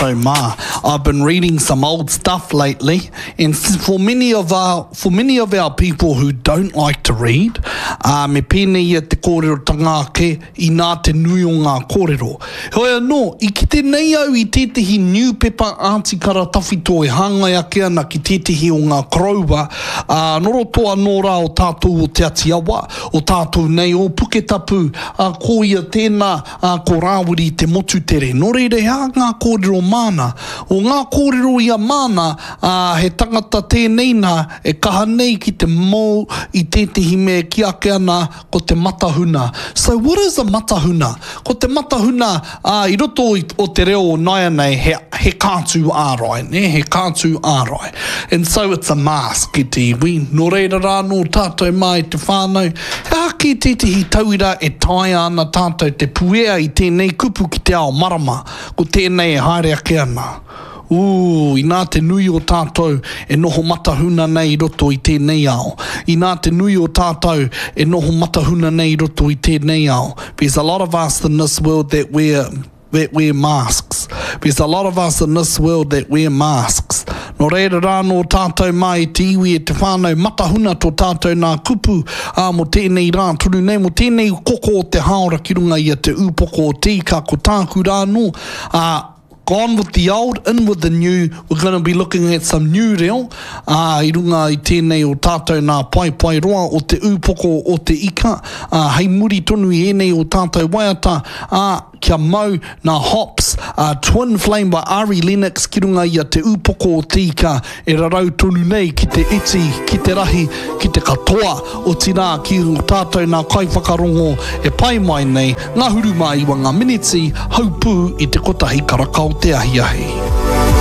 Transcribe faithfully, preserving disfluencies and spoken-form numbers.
tātou mā. I've been reading some old stuff lately, and for many of our, for many of our people who don't like to read, uh, me pēnei ia te kōrerotanga ake, inā te nui o ngā kōrero. Heoi anō, i kite nei au i tētehi niupepa ātikara tawhito e hāngai ake ana ki tētehi o ngā koroua, ā, nō roto anō rā o tātou o Te Ati Awa, o tātou nei o Puketapu, ā, ko ia tēnā, ā, ko Rāwiri Te Motutere. Nō reira, he aha ngā kōrero māna? O ngā kōrero ia māna, ā, he tangata tēnei nā e kaha nei ki te mou i tētehi mea e kī ake ana ko te matahuna. So what is a matahuna? Ko te matahuna, ā, i roto i, o te reo o nāianei, he, he kātū ārai, nē, he kātū ārai. And so it's a mask e te iwi. Nō reira rā nō tātou mā e te whānau, he aha kē tētehi tauira e taea ana tātou te puea i tēnei kupu ki te ao marama, ko tēnei e haere ake ana. Ooh, inā te nui o tātou e noho matahuna nei i roto i tēnei ao. Inā te nui o tātou e noho matahuna nei i roto i tēnei ao. There's a lot of us in this world that wear that wear masks. There's a lot of us in this world that wear masks. Nō reira rā nō tātou mā e te iwi e te whānau matahuna tō tātou nā kupu, ā, mō tēnei rā tonu nei, mō tēnei koko o te hāora ki runga i a Te Ūpoko o Te Ika, ko tāku rā anō, ā, Gone with the old, in with the new, we're gonna be looking at some new reo, ā, i runga i tēnei o tātou nā paepae roa o Te Ūpoko o Te Ika, ā, hei muri tonu i ēnei o tātou waiata, ā, kia mau nā Hops, ā, Twin Flame by Ari Lennox ki runga i a Te Ūpoko o Te Ika e rarau tonu nei ki te iti, ki te rahi, ki te katoa, otirā ki ō tātou nā kaiwhakarongo e pae mai nei, ngahuru mā iwa ngā miniti, haupū i te kotahi karaka o te ahiahi.